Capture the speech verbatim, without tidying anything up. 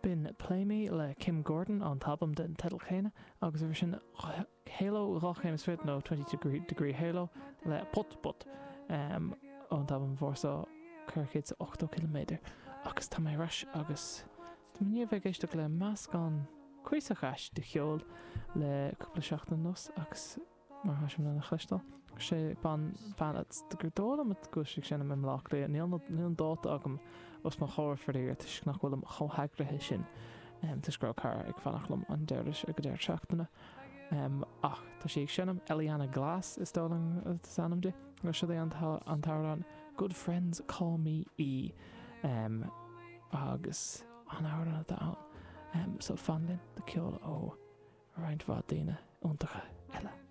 B'in Play Me le Kim Gordon ón t-albam den teideal céanna agus roimhe sin Halo dhá chéim is fiche nó Twenty Two Degree Halo le Put Put ón t-albam Warsaw ceithre chéad is ochtó ciliméadar. Agus tá mé ar ais agus tá mé i ndiaidh a bheith ag éisteacht le meascán cuíosach ait de cheol le cúpla seachtain anuas agus mar atá sibh in ann a chloisteáil. Sé bean bean gur dóigh liom go bhfuil sí ag seinm i mBleá Cliath. Níl níl an dáta agam os mo chomhair faraor toisc nach bhfuilim chomh heagraithe sin toisc go raibh cara ag fanacht liom an deireadh ag an deireadh seachtaine. Ach tá sí ag seinm Eliana Glass is dóigh liom is ainm di. Agus seo é an t-amhrán Good Friends Call Me E agus an amhrán atá ann. So fan linn do ceol ó roinnt mhaith daoine iontacha eile.